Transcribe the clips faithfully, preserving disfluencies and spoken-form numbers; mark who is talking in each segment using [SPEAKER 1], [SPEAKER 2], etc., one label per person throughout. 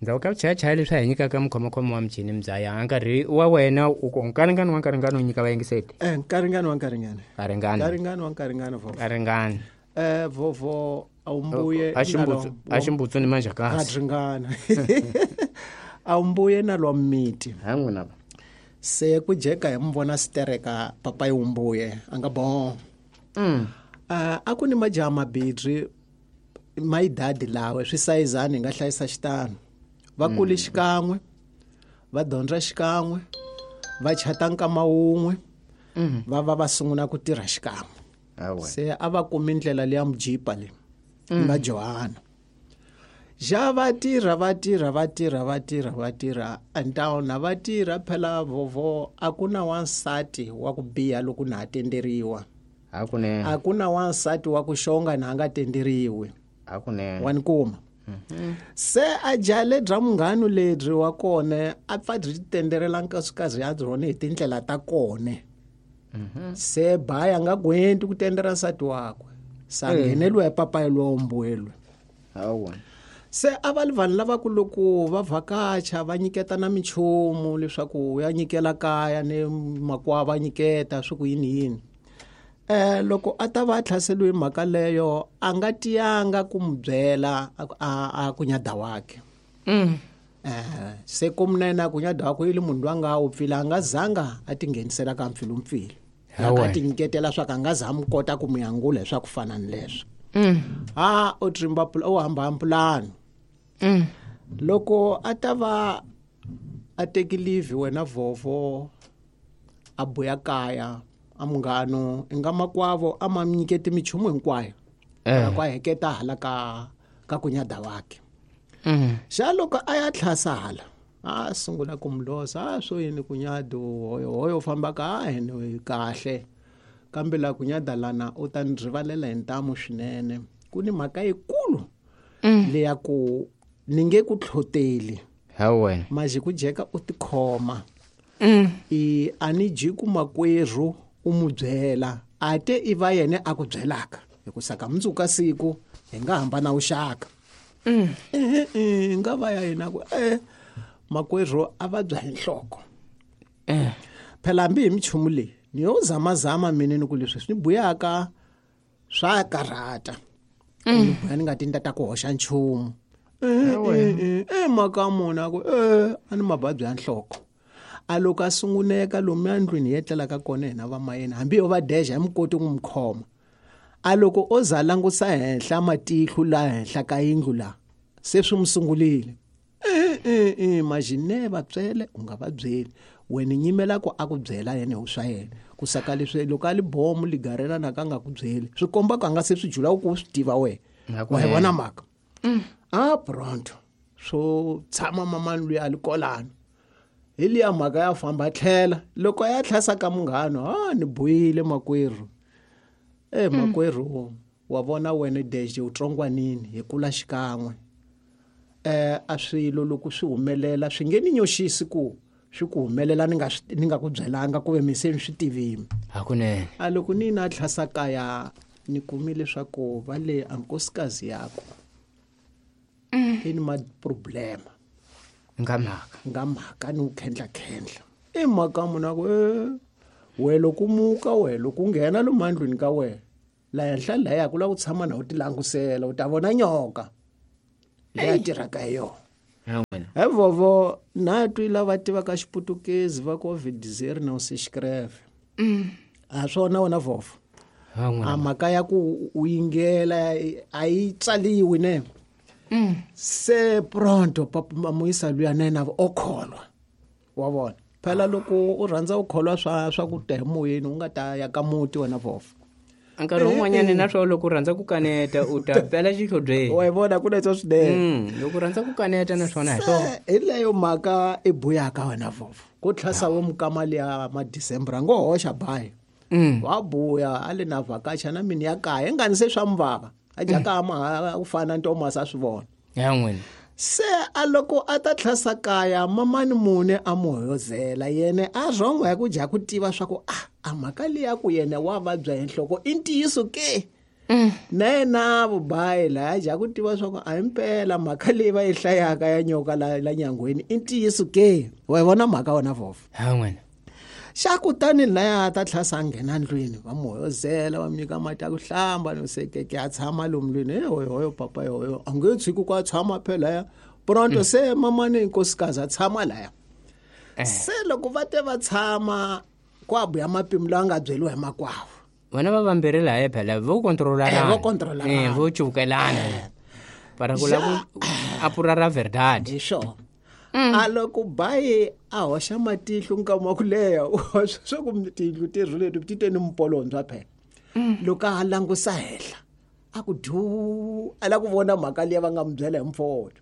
[SPEAKER 1] Ndzhaku ka vuchayachaya leswi a hi nyikaka mukhomakhoma wa michini mbyaya nkarhi wa wena u ku nkaringani wa nkaringani u nyika vayingiseti
[SPEAKER 2] eh nkaringani wa nkaringani
[SPEAKER 1] nkaringani
[SPEAKER 2] nkaringani wa nkaringani vovo
[SPEAKER 1] nkaringani
[SPEAKER 2] eh vovo awumbuye
[SPEAKER 1] a ximbutsu ni manjhakasi
[SPEAKER 2] ringana awumbuye na lwa miti
[SPEAKER 1] ha n'wina va
[SPEAKER 2] se ku jeka hi muvona sitereka papayi wumbuye a nga bon
[SPEAKER 1] mm.
[SPEAKER 2] uh, a ku ni majaha mabirhi mayidadi lawe swi sayizani hi nga hlayisa xitano va kule mm. xikan'we va dyondza xikan'we va chata nkama wun'we
[SPEAKER 1] mm.
[SPEAKER 2] va va va sungula ku tirha xikan'we se a va kumi ndlela leya mujipa leyi
[SPEAKER 1] mm.
[SPEAKER 2] nga Johana ja va tirha va tirha va tirha va tirha va tirha antawuna va tirha phela vovo a ku na wansati wa ku biha loko na ha tenderiwa
[SPEAKER 1] hakunene
[SPEAKER 2] a ku na wansati wa ku xonga na a nga tenderiwi
[SPEAKER 1] hakunene
[SPEAKER 2] wa ni kuma
[SPEAKER 1] mm-hmm.
[SPEAKER 2] se a jale bya munghano lebyi wa kona a pfa byi tenderela nkosikazi ya byona hi tindlela ta kona
[SPEAKER 1] mm-hmm.
[SPEAKER 2] se baya nga gwenti ku tendera nsati wakwe sa ngheneliwa hi papayi lowa mbuelwe
[SPEAKER 1] hawa
[SPEAKER 2] se a va li vanhu lava ku loko va vhakacha va nyiketa na minchumu leswaku ya nyikela kaya ni makwavo va nyiketa swi ku yini yini eh loko a ta va a tlhaseliwe mhaka leyo a nga tiyanga ku mu byela a a kunyada wakhe
[SPEAKER 1] mm.
[SPEAKER 2] eh se kumnene a kunyada wakhe ili munhu loyi a nga wupfile a nga zanga a tinghenisela ka mpfilumpfilu a ti nyiketela swa ku a nga za mu kota ku mu yangula hi swa ku fana ni leswo
[SPEAKER 1] mm.
[SPEAKER 2] ha o trimba o hamba mpulano
[SPEAKER 1] mm.
[SPEAKER 2] loko a ta va a teki leave wena vovo a buya kaya a munghano i nga makwavo a ma nyiketi minchumu hinkwayo
[SPEAKER 1] eh.
[SPEAKER 2] ku a heketa hala ka ka kunyada wakhe
[SPEAKER 1] mm.
[SPEAKER 2] xa loko a ya tlhasa hala a sungula ku mulosa a swo yini kunyado hoyo hoyo fambaka a hene kahle kambe la kunyada lana u ta ni rivalela hi ntamu swinene ku ni mhaka yikulu
[SPEAKER 1] mm.
[SPEAKER 2] leya ku ni nge ku tlhoteli
[SPEAKER 1] hawe
[SPEAKER 2] maji ku jeka u tikhoma
[SPEAKER 1] mm.
[SPEAKER 2] i a ni ji ku makwerhu u mu byela a te i va yena a ku byelaka hikusa ka mundzuku ka siku hi nga hambana vuxaka
[SPEAKER 1] mm.
[SPEAKER 2] e nga va ya yena ku e makwerhu a vabya hi nhloko
[SPEAKER 1] eh.
[SPEAKER 2] phela hambi hi minchumu leyi ni yo zamazama mina ni ku leswi swi ni buyaka swa karhata
[SPEAKER 1] mm.
[SPEAKER 2] ni buya ni nga ti ni ta ku hoxa nchumu e e mhaka mona ku e a ni mavabyi ya nhloko a loko a sunguneka lomuya ndlwini hi etlelaka kona hina vamayena hambi yo va deja hi mi koti ku mi khoma a loko o za langusa henhla matihlo la henhla ka yindlu la se swi mu sungulile e e e majine va byele u nga va byeli wena nyimela ku a ku byela yena hi swa yena ku saka leswi loko a li bomu ligarela na ka nga ku byeli swi komba ku a nga se swi jula ku swi tiva wena wa hi vona mhaka a pronto swo tshama mamani luya a li kolano hi liya mhaka ya famba tlhela loko ya tlhasa ka munghano a ni buyile makwerhu e makwerhu wa vona wena deje u tsongwanini hi kula xikan'we eh a swilo loko swi humelela swi nge ni nyoxisi ku swi ku humelela ni nga ni nga ku byelanga ku ve mi se ni swi tivini
[SPEAKER 1] hakunene
[SPEAKER 2] a loko ni na tlhasa kaya ni kumile leswaku va le a nkosikazi yakho
[SPEAKER 1] mm.
[SPEAKER 2] i ni ma problema
[SPEAKER 1] nga mhaka
[SPEAKER 2] nga mhaka ni wu khendla-khendla i mhaka munhu a ku e we loko muka we loko u nghena lomu andlwini ka wena la henhla laya ku lava ku tshama na u ti langusela u ta vona nyoka leyi a tirhaka hi yona he vovo na twi lava tivaka xiputukezi va ku ovidizeri na usixkreve a swona wena vovo a mhaka ya ku u yingela a yi tsaliwi ne
[SPEAKER 1] mm.
[SPEAKER 2] se pronto papa muyisa luya na yena o kholwa wa vona phela loko u rhandza u kholwa swa swa ku ta hi moyeni u nga ta ya ka muti wena vovo
[SPEAKER 1] nkarhi wun'wanyana na swona loko u rhandza ku kaneta u ta pela xihlobyeni
[SPEAKER 2] wa yi vona ku leswo swinene
[SPEAKER 1] mm, loko u rhandza ku kaneta na swona hi swona
[SPEAKER 2] hi leyo mhaka i buyaka wena vovo ku tlhasa wo mukama liya madecember a ngo hoxa bayi
[SPEAKER 1] mm.
[SPEAKER 2] wa buya a le na vhakacha na mini ya kaya ingani se swa muvava a jaka ma ku fana ntomasi a swi vona
[SPEAKER 1] ya n'wina
[SPEAKER 2] se a loko a ta tlhasa kaya mamani mune a mu hoyozela yene a rhongo ya ku dya ku tiva swa ku a a mhaka leyi ya ku yena wa vabya hi nhloko i ntiyiso ke Na yena vubayi laya ja ku tiva swa ku a himpela mhaka leyi va yi hlayaka ya nyoka la la nyangweni i ntiyiso ke wa yi vona mhaka wona vhofo
[SPEAKER 1] ha n'wina
[SPEAKER 2] xa kutani laya ta tlhasa a nghena ndlwini va mu hoyozela va mu nyika mati ya ku hlamba no sekeke a tshama lomu ndlwini e hoyohoyo papa yohoyo a nge tshiki ku a tshama phela laya pronto se mamani nkosikazi a tshama laya se loko va te va tshama ku a buya mapimo lawa nga byeriwa hi makwavo
[SPEAKER 1] vona va vambirhi laya phela vo kontrolana
[SPEAKER 2] Eh, vo kontrolana.
[SPEAKER 1] eh vo cuvukelana para ku lava ku apura ra verdade
[SPEAKER 2] hi swona a loko bayi a hoxa matihlo nkama wa ku leha swa ku tiyindlu ti leti ti te ni mpolondzwa phela loko a langusa henhla a ku du a la ku vona mhaka liya va nga mu byela hi mfowethu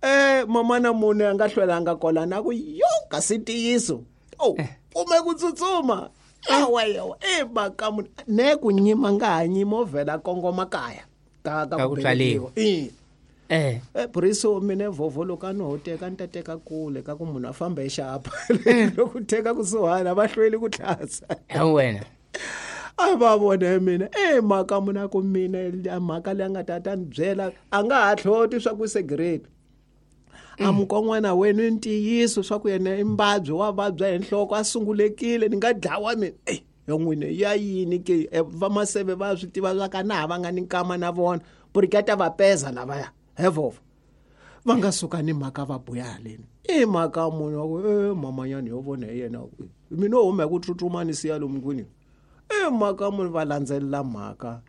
[SPEAKER 2] eh mamana munhu a nga hlwelanga kolana a ku yo kasi ntiyiso o kume ku tsutsuma yawa yawa e mhaka munhu ne ku nyima nga ha nyima o vhela kongoma kaya ka
[SPEAKER 1] Ka
[SPEAKER 2] ka
[SPEAKER 1] ku
[SPEAKER 2] ku
[SPEAKER 1] tswaliwa.
[SPEAKER 2] velekiwa. Eh.
[SPEAKER 1] eh
[SPEAKER 2] Eh Buriso mina vhovho loko a no ho teka ni ta teka kule ka ku munhu a famba hi xapa loko teka kusuhana va hlweli ku tlhasa
[SPEAKER 1] ha wena
[SPEAKER 2] a va vone mina e mhaka munhu a ku mina a mhaka leyi a nga ta ta ni byela a nga ha hloti swa ku segrade a mukon'wana wenu i ntiyiso swa ku yena i mbabyi wa vabya hi nhloko a sungulekile ni nga dlawa mina eyi yo n'wini ya yini ke Eh, vamaseve va swi tiva swa ka na ha va nga ni nkama na vona buriketa va peza lavaya hevova va nga suka ni mhaka va buya haleni i mhaka munhu wa ku e mamanyani yo vona hi yena mina o huma hi ku tsutsuma ni siya lomu kwini i mhaka munhu va landzelela mhaka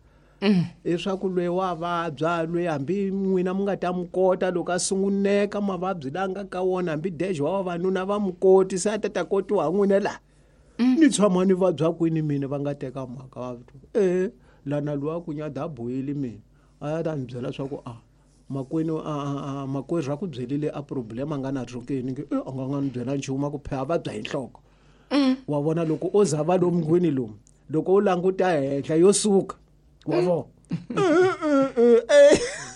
[SPEAKER 2] leswaku loyi wa vabya loyi hambi n'wina mi nga ta mi kota loko a sunguneka mavabyi la nga ka wona hambi dejo wa vavanuna va mi koti se a ta ta kotiwa hi n'wina laha ni tshama ni vabya kwini mina va nga teka mhaka va e lana lowa ku nyada a bohile mina a ya ta ni byela swa ku a makwenu a a- a makwerhu a ku byelile a problem a nga na rhokeni nge e a nga nga ni byela nchumu a ku phe a vabya hi nhloko wa vona loko o za va lomu ngwini lomu loko u languta henhla yo suka wa vona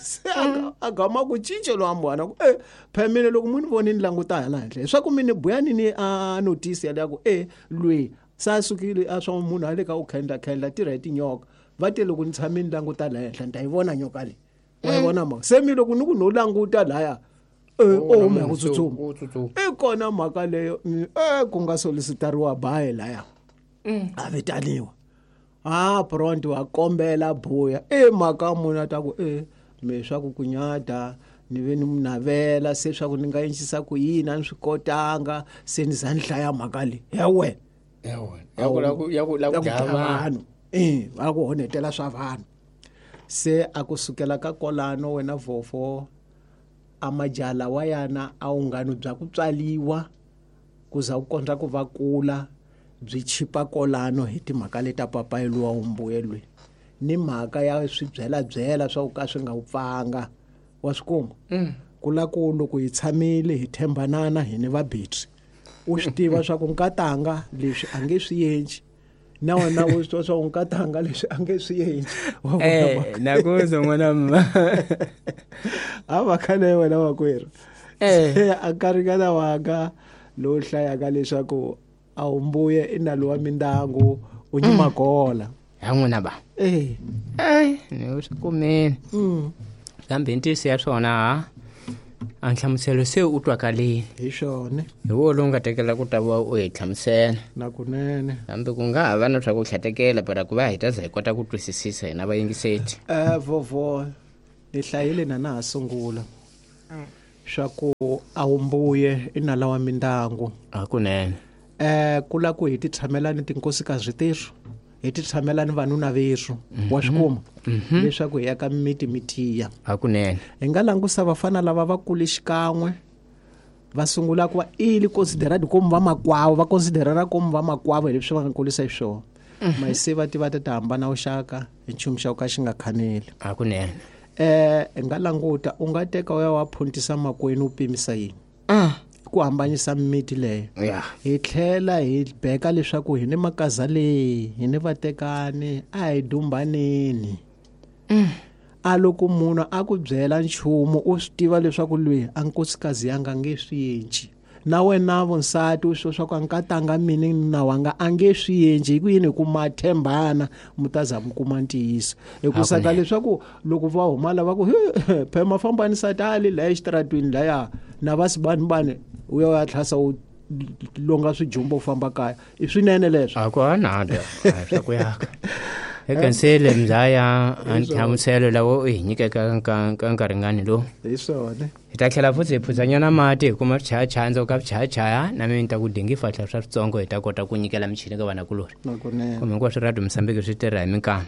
[SPEAKER 2] se a- a gama ku cince lowa mbwana ku e phe mina loko mu ni voni ni languta hala henhla leswaku mi ni buya ni ni a notice yaleyo ku e lweyi se a sukile a swa munhu a le ka ku khendla khendla tirha hi tinyoka va te loko ni tshame ni languta laha henhla ni ta yi vona nyoka leyi wa yi vona mhaka se mi loko ni ku no languta laya e o huma hi ku tsutsuma
[SPEAKER 1] u tsutsuma
[SPEAKER 2] i kona mhaka leyo mm, e ku nga solicitariwa bayi laya a vitaniwa a pronto wa kombela buya e mhaka munhu a ta ku e me swa ku kunyata ni ve ni mu navela se swa ku ni nga endlisa ku yini a ni swi kotanga se ni za ni hlaya mhaka leyi ya wena
[SPEAKER 1] ya wena ya ku la ku ya ku la ku
[SPEAKER 2] ya ku
[SPEAKER 1] dlaya
[SPEAKER 2] dlaya
[SPEAKER 1] vanhu
[SPEAKER 2] vanhu e va ku honetela swa vanhu se a ku sukela ka kolano wena vhofo a majala wa yana a wungano bya ku tswaliwa ku za ku kondza ku va kula byi chipa kolano hi timhaka leta papayi luwa wumbuyelweni ni mhaka ya swibyelabyela swa ku ka swi nga wu pfanga wa swi kuma ku la ku loko hi tshamile hi tshembanana hi ni vabetri u swi tiva swa ku nkatanga leswi a nge swi endli na wena u swi tiva swa ku nkatanga leswi a nge swi endli Wa vona
[SPEAKER 1] eh
[SPEAKER 2] mhaka?
[SPEAKER 1] nakuzo n'wana mma
[SPEAKER 2] a mhaka leyi wena makwerhu
[SPEAKER 1] Eh.
[SPEAKER 2] Se a nkarhinyana wanga lowu hlayaka leswaku a wu mbuye i nalo wa mindyangu u nyima kola
[SPEAKER 1] ya n'wina ba
[SPEAKER 2] eh
[SPEAKER 1] eh ni swi kumile
[SPEAKER 2] mm.
[SPEAKER 1] kambe ntiyiso ya swona ha a nhlamuselo se u twakalile
[SPEAKER 2] hi swona
[SPEAKER 1] hi wo lowu nga tekela ku ta va u hi hlamusela
[SPEAKER 2] na kunene
[SPEAKER 1] kambe ku nga ha va na swa ku hlatekela para ku va hi ta za hi kota ku twisisisa hina vayingiseti
[SPEAKER 2] eh vovo ni hlayile na na ha sungula swa ku a wu mbuye i nala wa mindyangu
[SPEAKER 1] hakunene
[SPEAKER 2] eh ku la ku hi ti tshamela ni tinkosikazi terhu hi ti tshamela ni vanuna verhu wa swi kuma leswaku hi ya ka miti mi tiya
[SPEAKER 1] hakunene
[SPEAKER 2] hi nga langusa vafana lava va kule xikan'we va sungula ku va ili considerad komu va makwavo va considerana komu va makwavo hi leswi va nga kulisa hi swona mayise va tiva ta ti hambana vuxaka hi nchumu xa ku ka xi nga khaneli
[SPEAKER 1] hakunene
[SPEAKER 2] eh hi nga languta u nga teka u ya wa phuntisa makwenu u pimisa yini ku hambanyisa mimiti leyo
[SPEAKER 1] ya
[SPEAKER 2] hi tlhela hi beka leswaku hi ni makaza leyi hi ni vatekani a hi dumbaneni a loko munhu a ku byela nchumu u swi tiva leswaku loyi a nkosikazi ya nga nge swi endli Na wena vonsati u swo swa ku nkatanga mina na wanga a nge swi endli hi ku yini hi ku ma tshembana mi ta za mi kuma ntiyiso hikusa ka
[SPEAKER 1] Hakunene.
[SPEAKER 2] leswaku loko va huma lava ku phema fambani satali laya exitaratweni laya na va sibanibani u ya u ya tlhasa u longa swijumbo u famba kaya i swinene leswo
[SPEAKER 1] a ku anada swa ku yaka ekansele mzaya a nhlamuselo lawo u hi nyikeka ka ka nkarhingani lowu
[SPEAKER 2] hi swona
[SPEAKER 1] hi ta tlhela futhi hi phudzanyana mati hi kuma swichayachaya ka swichayachaya na mina ni ta ku dingi fahla swa switsongo hi ta kota ku nyikela michini ka vanakulorhi
[SPEAKER 2] nakunene
[SPEAKER 1] kumbe hinkwaswo radio mosambiki swi tirha hi minkama.